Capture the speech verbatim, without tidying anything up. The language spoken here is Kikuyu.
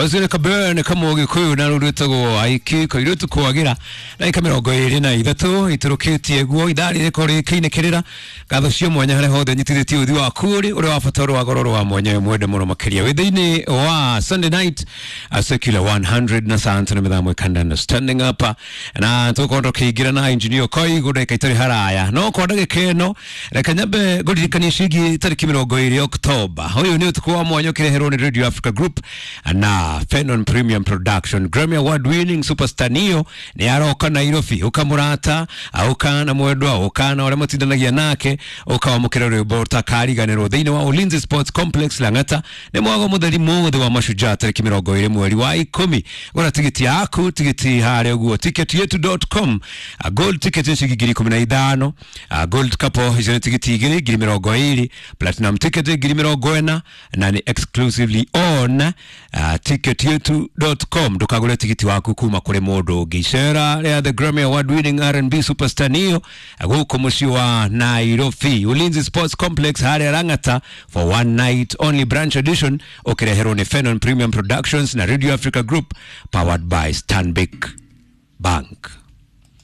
Ũcio nĩ kabere kamwe Gĩkũyũ na rũrĩtagwo aiki kairĩtu kwagira ndagĩka mĩrongo ĩrĩ na ithatũ itũrũkĩtie guo ithaa rĩrĩko rĩkĩinĩkĩrĩra. Ngatho cio mwanya harĩa hothe nyitithĩtie ũthi waku ũrĩ ũrĩa wa bata ũrĩ wa goro wa mwanya mwende mũno makĩria wĩ thĩinĩ wa Sunday night a secular one hundred na santa na mĩthamo ĩkandana standing up na tũkorwo tũkĩingĩra na engineer Koigu ndagĩka itarĩ haraya no kwa ndagĩka ĩno reke nyambe ngũririkanie ciĩgiĩ tarĩki mĩrongo ĩrĩ Oktoba. Ũyũ nĩ ũtukũ wa mwanya ũkĩreherwo nĩ Radio Africa Group na Fenon Premium Production. Grammy Award winning superstar Neo nĩ aroka Nairobi. Ũkamũrata ũka na mwendwa ũka na ũrĩa mũtindanagia nake ũkawamũkĩra rwĩmbo ũtakariganĩrwo thĩinĩ wa Ulinzi Sports Complex, Lang'ata. Nĩ mwago mũtheri mũthĩ wa mashujaa tarĩki mĩrongo ĩrĩ mweri wa ikũmi. Gũra tigiti yaku, tigiti harĩa ũguo ticket yetu dot com. Gold ticket nĩ ciringi ngiri ikũmi na ithano, gold couple icio nĩ tigiti igĩrĩ ngiri mĩrongo ĩrĩ, platinum ticket ngiri mĩrongo ĩna na nĩ exclusively on uh, ticket yetu dot com. Ndũkagũre tigiti waku kuma kũrĩ mũndũ ũngĩ. Icera rĩa the Grammy Award winning R and B superstar Neo gũkũ mũciĩ wa Nairobi, Ulinzi Sports Complex harĩa Lang'ata, for one night only, branch edition, ũkĩreherwo nĩ Fenon Premium Productions na Radio Africa Group, powered by Stanbic Bank.